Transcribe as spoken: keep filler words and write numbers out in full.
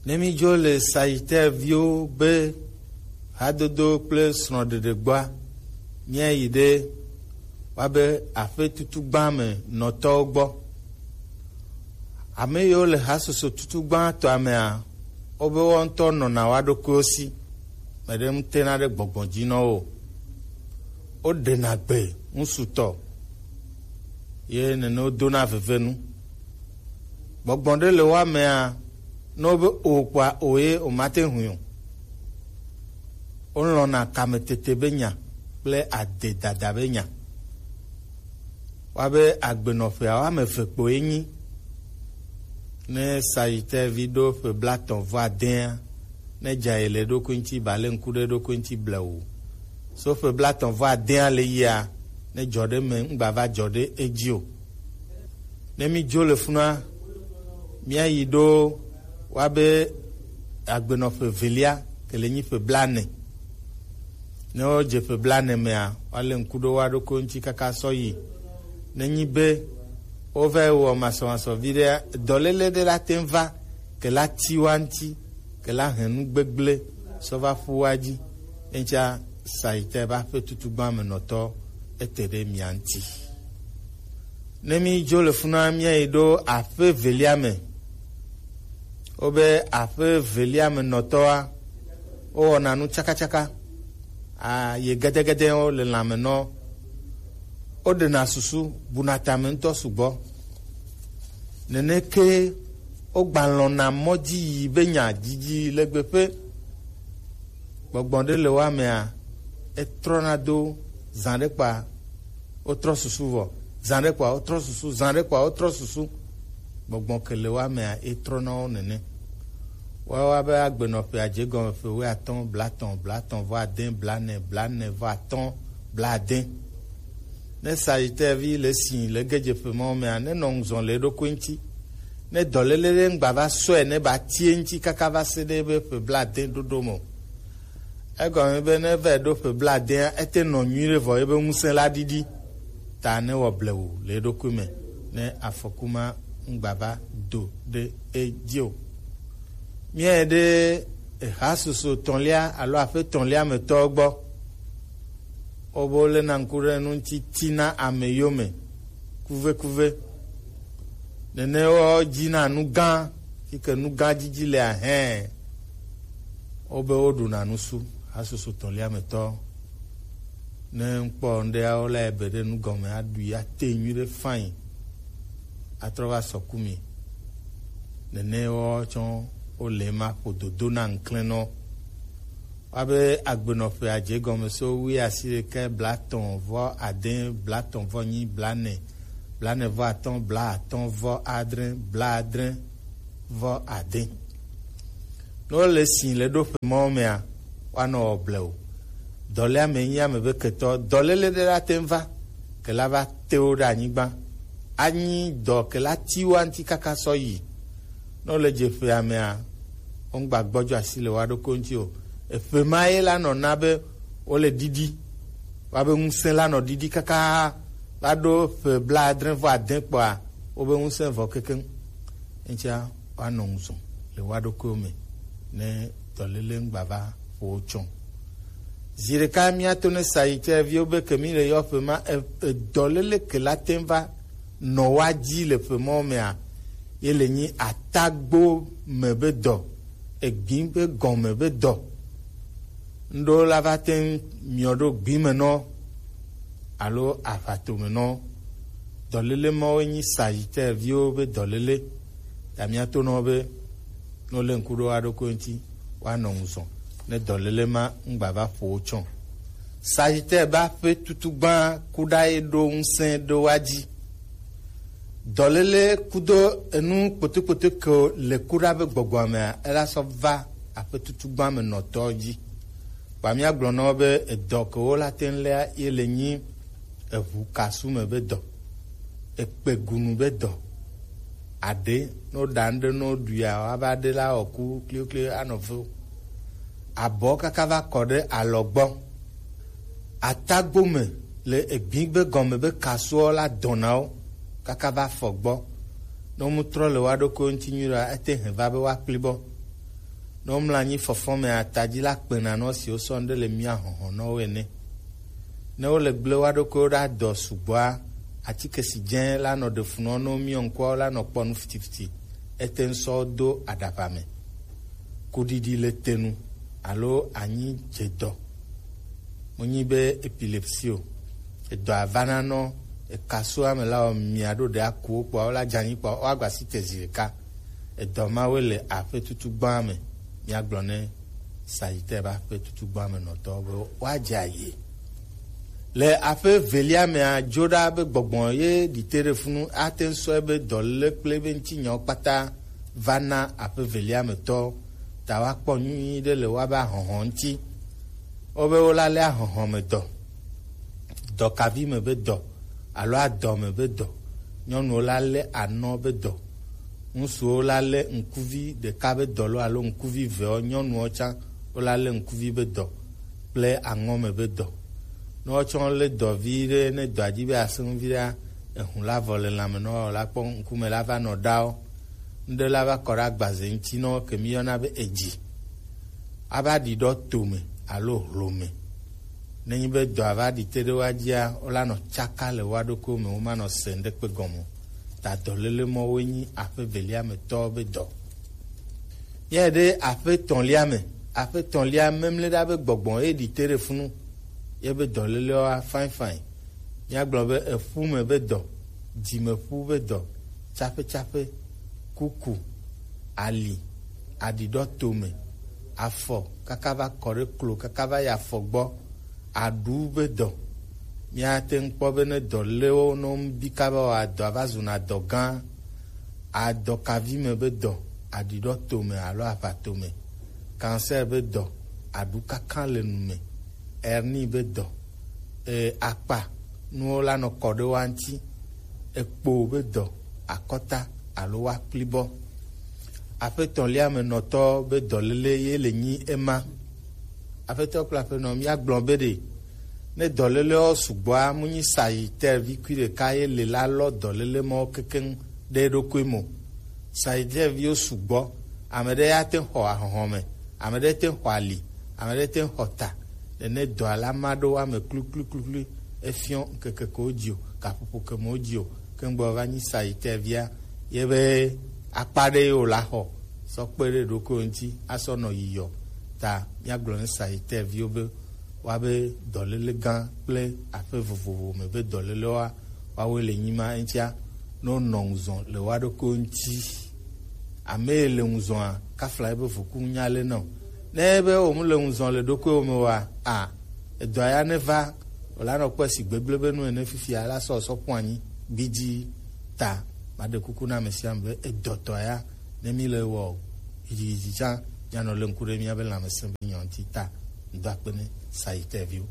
Ne mi dzo le Sagittaire viwo be hadodo kple srɔ̃ɖeɖe gbɔa, míayi ɖe woabe aƒe tutugba me nɔtɔwo gbɔ. Ame yiwo le hasoso tutugba tɔa mea, wobe woawo ŋutɔ nɔna woa ɖokuiwo si. Meɖe ŋutena ɖe gbɔgbɔ dzi nɔ wo. Woɖena gbe ŋusutɔ, ye nene wodona vevenu. Gbɔgbɔ ɖe le woa mea, ne wobe o kpɔa, o ye womate ŋui o. Wolɔ̃na kametete be nya kple adedada be nya. Woabe agbenɔƒea woame eve kpoe nyi. Ne Sagittaire vi ɖo ƒe blaetɔ̃ vɔ adea, ne dza yi le eɖokui ŋuti, ba le ŋku ɖe eɖokui ŋuti blewu. So ƒe blaetɔ̃ vɔ adea le yia, ne dzɔ ɖe me ŋgba va dzɔ ɖe edzi o. Ne mi dzo le funua, míayi ɖo woabe agbenɔƒe evelia ke le nyi ƒe blaene. Ne wodze ƒe blaene mea, woalé ŋku ɖo woa ɖokui ŋuti kaka sɔ yi. Nenyi be wova yi wɔ masɔmasɔ viɖea, dɔléle ɖe la te ŋu va ke la ti woa ŋuti, ke la hɛn nu gbegblẽ sɔ va ƒu woa dzi. Eŋutia Sagittaire be aƒe tutugba me nɔtɔ ete ɖe mia ŋuti. Ne mi dzo le funua, míayi ɖo aƒe evelia me. Wobe aƒe evelia me nɔtɔa, wowɔna nu tsakatsaka. A, ye gedegede wo le lãme nɔ. Woɖena susu, buna tame ŋutɔ sugbɔ. Neneke wogbalɔ̃na mɔ dzi yi be nya didi le gbeƒe. Gbɔgbɔ ɖe le woa mea, etrɔna do zã ɖe kpa wotrɔ susu vɔ, zã ɖe kpa wotrɔ susu, zã ɖe kpa wotrɔ susu. Gbɔgbɔ ke le woa mea, etrɔna wo nene. Woawo be agbenɔƒea dze gɔme ƒe wuiatɔ̃, blaetɔ̃, blaetɔ̃ vɔ ade, blaene, blaene vɔ atɔ̃, blaade. Ne Sagittaire vi le si le gedzeƒe mawo mea, nenɔ ŋuzɔ le eɖokui ŋuti. Ne dɔléle ɖe ŋgba va sɔe ne ba tie ŋuti kaka va se ɖe ebe ƒe blaade ɖoɖo me o. Egɔme be ne va ɖo ƒe blaadea, ete nɔ nyuiɖe vɔ ebe ŋusẽ la ɖiɖi. Ta ne wɔ blewu le eɖokui me ne afɔku ma ŋgba va do ɖe edzi o. Míayi ɖe ehasusu etɔ̃lia alo aƒe etɔ̃lia me tɔwo gbɔ. Wobe woléna ŋku ɖe nu ŋuti tina ame yome kuvekuve. Nene wo dzina nu gã, yi ke nu gã didi le ahɛ. Wobe woɖuna nusu, hasusu etɔ̃lia me tɔ. Ne ŋkpɔ ŋɖea, wo la ebe ɖe nu gɔme, aɖui, ate nyui ɖe fain, atrɔ va sɔ ku mi. Nene wo tsɔ wo le ma ƒo dodo na ŋklɛnɔ. Woabe agbenɔƒe adze gɔme so wuiasiɖekɛ, blaetɔ̃ vɔ ade, blaetɔ̃ vɔ nyi, blaene, blaene vɔ atɔ̃, blaatɔ̃ vɔ adre, blaadre vɔ ade. Ne wole si le ɖo ƒe mawo mea, woanɔ wɔ blewu. Dɔléa me nyi ame be ketɔ, dɔléle ɖe la te ŋu va, ke la va te wo ɖe anyigba. Anyi dɔ ke la ti wo ŋuti kaka sɔ yi. Ne wole dze ƒea mea, womgba gbɔdzɔ asi le woa ɖokui ŋuti o. Eƒe ma ye la nɔ na be wole ɖiɖi, woabe ŋusẽ la nɔ ɖiɖi kaka va ɖo ƒe blaadre vɔ ade kpɔa, wobe ŋusẽ vɔ kekeŋ. Eŋutia woanɔ ŋuzɔ le woa ɖokuiwo me ne dɔléle ŋgba va ƒo wo tsɔ. Zi ɖeka míato ne Sagittaire viwo be ke mi le yɔ ƒe ma, e, e, dɔléle ke la te ŋu va nɔ woa dzi le ƒe mawo mea, ye le nyi atagbo me be dɔ, egbi be gɔme be dɔ. Ŋɖewo la va te ŋu miɔ ɖo gbi me nɔ alo aʋato me nɔ. Dɔléle mawo nyi Sagittaire viwo be dɔléle. Ta míato nɔ be ne wole ŋku ɖo woa ɖokui ŋuti, woanɔ ŋuzɔ ne dɔléle ma ŋgba va ƒo wo tsɔ. Sagittaire be aƒe tutugba ku ɖa ye ɖo ŋusẽ ɖo woa dzi. Dɔléle kudo enu kpotokpoto ke le ku ɖa be gbɔgbɔa mea, ela sɔ va aƒe tutugba me nɔtɔ dzi. Kpa míagblɔ na wo be edɔ ke wo la te ŋu léa ye le nyi eʋu kasu me be dɔ, ekpegunu be dɔ. Aɖe, ne woɖa ŋɖe ne woɖuia, woava ɖe la wɔ ku klikli anɔ ve. Abɔ kaka va kɔ ɖe alɔ gbɔ. Atagbo me le egbi be gɔme be kasuɔ la dɔna wo kaka va fɔ gbɔ. Ne womu trɔ le woa ɖokuiwo ŋuti nyuie ɖoa, ete hɛn va be woakpli bɔ. Ne womlɔ anyi fɔfɔ me atadzi la kpena nɔ si wosɔ ŋɖe le mia hɔhɔ nɔ wo ene. Ne wole gble wa ɖokuiwo ɖe adɔ sugbɔa, atike si dze la nɔ ɖe funɔ no miɔ ŋkua la nɔ kpɔ nu fitifiti. Ete ŋu sɔ do aɖaʋa me. Kuɖiɖi le te nu alo anyi dze dɔ. Wonyi be epilepsy o. Edɔ avana nɔ ekasu ame la o mia ɖo ɖe akuwo kpɔ la dzanyi kpɔ wa gba si te zi ɖeka. Edɔ mawe le aƒe tutu gbã me. Miagblɔ ne Sagittaire ƒe aƒe tutu gbã me nɔtɔ be woadze ayi. Le aƒe velia mea dzo ɖa be gbɔgbɔ ye ɖite ɖe funu ate ŋu sɔe be dɔléle kple be ŋutinyawo kpata va na aƒe velia me tɔ ta woakpɔ nyuie ɖe le woabe ahɔhɔ ŋuti. Wobe wolalé ahɔhɔ me dɔ, dɔkavi me be dɔ alo adɔ me be dɔ. Nyɔnuwo la lé anɔ be dɔ. Ŋutsuwo la lé ŋkuvi ɖeka be dɔ lo alo ŋkuvi vewo, nyɔnuwo tsã wo la lé ŋkuvi be dɔ kple aŋɔ me be dɔ. Ne wotsɔ lé dɔ vi ɖe ne dɔa dzi be asẽ ŋu vi ɖea, ehu la vɔ le lãme na wo la kpɔ ŋkume la va nɔ ɖawo. Ŋɖe la va kɔ ɖe agbaze ŋuti nɔ ke mi yɔna be edzi. Ava ɖi ɖɔ tome alo hlome. Ne nyi be dɔ ava ɖi te ɖe wa dzia, wo la nɔ tsaka le wa ɖokuiwo me, wo ma nɔ se ŋɖe kpe gɔme o. Ta dɔléle mɔ woe nyi aƒe velia me tɔ be dɔ. Míayi ɖe aƒe tɔ̃lia me. Aƒe tɔ̃lia memle ɖa be gbɔgbɔ ye ɖi te ɖe funu. Ye be dɔlélewa fain fain. Míagblɔ be eƒu me be dɔ, dzimeƒu be dɔ, tsaƒetsaƒe, kuku, ali, aɖiɖɔ tome, afɔ kaka va kɔ ɖe klo kaka va yi afɔ gbɔ, aɖu be dɔ. Míate ŋu kpɔ be ne dɔ lé wo ne womebi kaba o, adɔa va zuna dɔ gã. Adɔkavi me be dɔ, aɖiɖɔ tome alo aʋa tome, cancer be dɔ, aɖu kakã le nu me, hernie be dɔ, e, akpa nuwo la nɔ kɔ ɖe wa ŋuti, ekpo be dɔ, akɔta alo wa kplibɔ. Aƒetɔ̃lia me nɔtɔ be dɔléle ye le nyi ema. Aƒetɔ kple aƒenɔ, míagblɔ be ɖe ne dɔlélewo sugbɔa, mu nyi Sagittaire vi kui ɖeka ye le la lɔ dɔléle mawo kekeŋ ɖe eɖokui mo. Sagittaire viwo sugbɔ. Ame ɖe ya te xɔ ahɔhɔ me, ame ɖe te xɔ ali, ame ɖe te xɔ ta. Nene dɔa la ma ɖo wa me kluklukluklu. Efiɔ ŋkeke ko dzi o, gaƒoƒo ke mo dzi o, ke ŋgbɔ va nyi Sagittaire via, ye be akpa ɖe ye wòla xɔ sɔ kpe ɖe ɖokui ŋuti asɔ nɔ yiyɔ. Ta míagblɔ ne Sagittaire viwo be woabe dɔléle gã kple aƒe vovovo me be dɔlélewoa, woawoe le nyi ma eŋutia, ne wonɔ ŋuzɔ le woa ɖokuiwo ŋuti. Ame yi le ŋuzɔa, kafla ebe voku nya le na o. Ne ebe womele ŋuzɔ le ɖokuiwo me oa, a, edɔa ya neva, wòla nɔ kpɔe si gbegblẽ be nu ene fifia la sɔ sɔ ƒu anyi gbidzi. Ta maɖe kuku na ame sia ame be edɔtɔ ya, ne mi le wɔ o, yidziyidzidza, mianɔ le ŋku ɖe miabe lãmesẽ be nyɔ ŋuti ta. Ŋdɔ akpe ne Sagittaire viwo.